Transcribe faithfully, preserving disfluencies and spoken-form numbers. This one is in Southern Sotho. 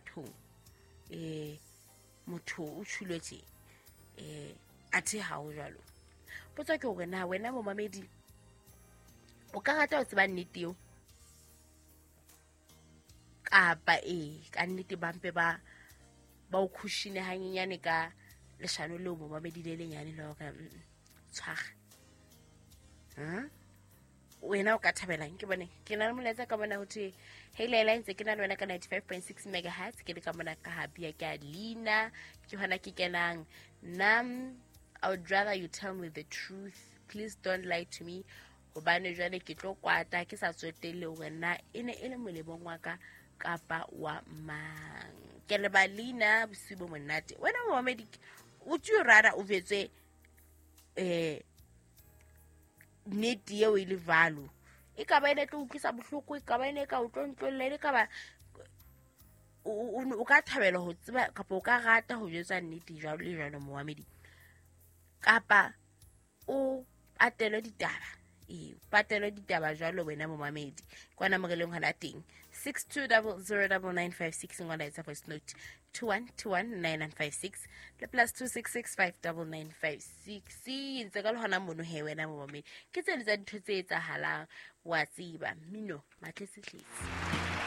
bathong um motho o tjhulwe tje um athe ha o jwalo. Potso ke hore na wena momamedi o ka rata ho tseba nnete eo kapa ee ka nnete ba mpe ba ba o khushine hanyenyane ka leshano leo momamedi le lenyane la hore tshwara. Wena o ka thabelang ke bone ke na le molaetsa ka bona ho thwe hey Leila, ntse ke na le wena ka ninety-five point six megahertz, ke le ka mona ka habia ke a leina ke hona ke kenang nna. I would rather you tell me the truth, please don't lie to me, hobane jwale ke tlo kwata ke sa tsotelle hore na e ne e le molemong wa ka kapa wa mang. Ke le ba leina bosiu bo monate. Wena momamedi would you rather o jwetswe eh nnete eo e le value, e ka ba e ne tlo utlwisa bohloko, e ka ba e ne ka o tlontlolla, e ka ba o ka thabela ho tseba kapa o ka rata ho jwetsa nnete jwalo le jwalo momamedi, kapa o patelwe ditaba ee patelwe ditaba jwalo wena momamedi. Kwana mo re leng hona teng six two double zero double nine five six ngwana etsa voice note two one two one nine nine five six le plus two six six five double nine five six. Ntse ka le hona mono he wena momamedi ke tse le tsa dintho tse etsahalang wa tseba mmino matletsetletse.